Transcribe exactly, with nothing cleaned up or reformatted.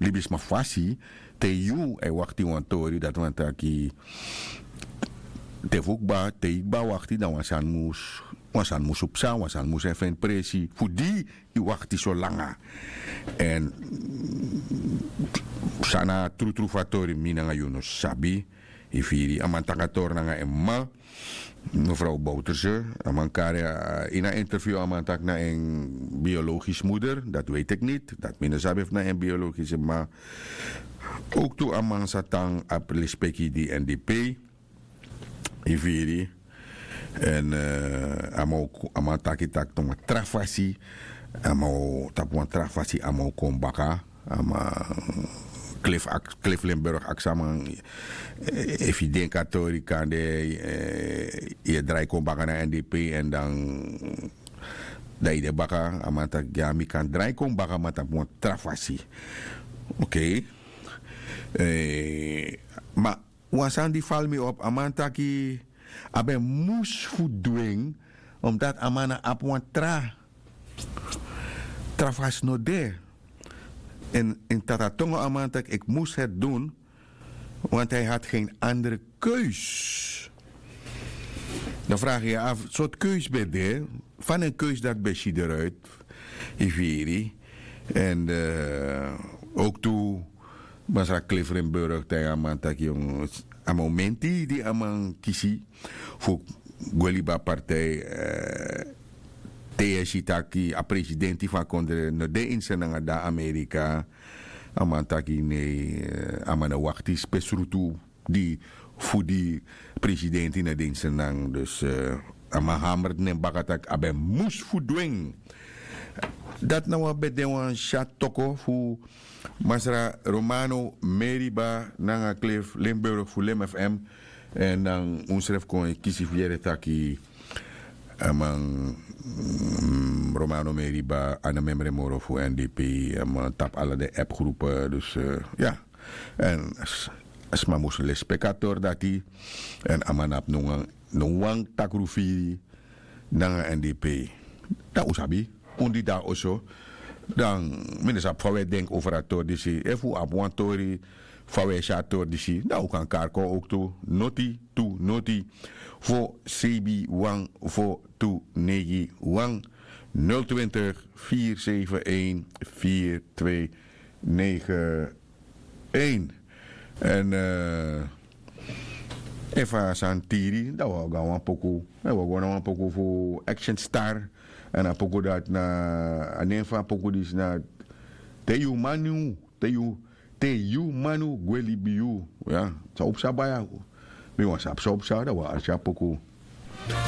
libisma fasi, te yu e wakti wan tori dati wani taki, te fu kba te yu kba wakti dan wan sani mus wan sani mus psa, wan sani mus e feni presi fu di yu wakti so langa. Èn san na a trutru fu a tori mi nanga yu no sabi. Yu firi a man taki a tori nanga en mama, mefrow bouterse. A man kari ini a interview a man taki na en biologisi muder, dati weti eki niti dati mi no sabi fu na en biologisi mama. Owktu a man sa tan abi lespeki di èn di pei. Yu firi? Èn a man taki taki na wan tra fasi a man o tapu wan tra fasi a man o kon baka. A man, klef aks klef limburg aksi a man, efu yu denki a tori kande yu e drai kon baka na n d p èn dan dan yu de baka a man taki ya mi kan drai kon baka ma tapu wan tra fasi. Okei. Ma wan sani di fali mi op a man taki a ben mus fu du en, omdati a man na abi wan tra tra fasi no de. Èn ini tata tongo a man taki iki mus heti dun. Want hi hadi gen andere keus. Dan fragi yu afu sortu keus ben de? Fa den keus dati ben si deruit? Yu firi? Èn owktu masra klefrenburg taigi a man taki a momenti di a man kisi fu gwe libi a partij, te yu e si taki a presidenti fu a kondre no de ini se nanga dan amerika. A man taki nei a man no wakti spesrutu di fu di presidenti no de ini se nanga dus a man hamert nen baka tak' a ben mus fu du en. Dati na wan ben de wan syatu toko fu masra romano meriba nanga klef limburg fu lim fm. Èn dan unsrefi kon e kisi fu yere taki a man romano meriba a no memre moro fu n d p. A man tapu ala den app grupe dus ya. Èn sma mus lespeki a tori dati. Èn a man no abi no wan takru firi nanga n d p. Dan un sabi un di de na oso. Dan mi no sabi fa un e denki over a tori disi efu un abi wan tori fa un e si a tori disi dan un kan kari kon owktu noti tu noti fo sebi wan fo tu neigi wan nul twintig vier zeven een vier twee negen een. Èn efu a sani tiri dan un o go na wan poku. Un o go na wan poku fu action star. Èn a poku dati na a nen fu a poku disi na te yu manu te yu te yu manu gwe libi yu. Ya san un psa baya? Mi wani sabi san un psa dan un o arki a poku.